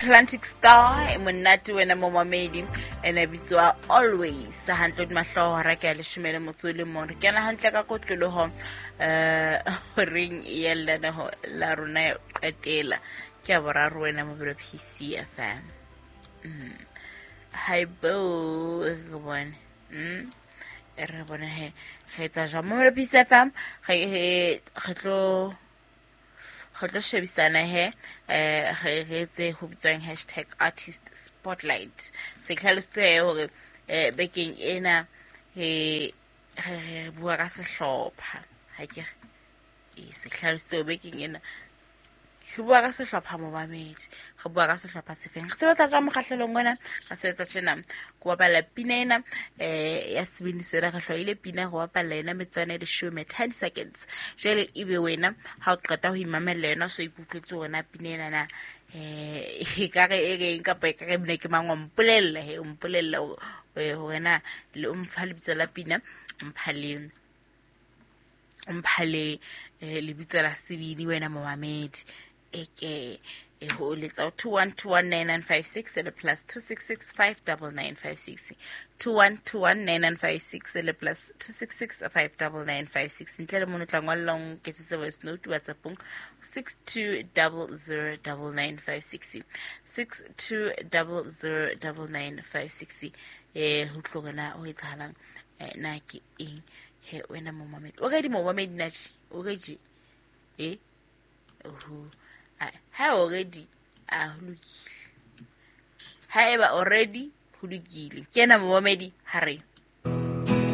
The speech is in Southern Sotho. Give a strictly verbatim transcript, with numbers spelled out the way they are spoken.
Atlantic Star e monate wena momamedi ene bitswa Always hantle di mahloho hora ke ya leshome le motso o le mong. Re kena hantle ka kotloloho eh horeng ya lenaneho la rona ya qetela ke ya boraro wena mobilo P C F M. Mm. Hi bo re bone. Mm. Re bone he re etsa jwang mobilo P C F M re re tlo re tlo shebisana he eh re re etse ho bitswang hashtag artist spotlight. Se hlalositse hore eh bekeng ena re re bua ka sehlopha ha ke re e se hlalositse bekeng ena re bua ka sehlopha momamedi re bua ka sehlopha sefeng re sebetsa ka mokgahlelong ona re sebetsa tjena go bapala pina ena eh ya sebini sena re hloile pina go bapala ena metswana e leshome ten seconds jwale ebe wena ha o qeta ho imamella yona so ikutlwetse hore pina ena na eh e ka re e reng kapa e ka re bine ke mang wa mpolella he o mpolella hore na le o mpha lebitso la pina mpha le mpha le lebitso la sebini wena momamedi eke e ho letsa two one two one nine nine five six le plus two six six five nine nine five six two one two one nine nine five six le plus two six six five nine nine five six ntle le mono tla ngwallang ketsetse voice note WhatsAppong six two zero zero nine nine five six six two zero zero nine nine five six eh ho tlogela ho etsahalang na ke eng he wena momamedi o re di momamedi na tje o re je eh oho ha already a ho lokile ha eba already ho lokile ke ena momamedi ha re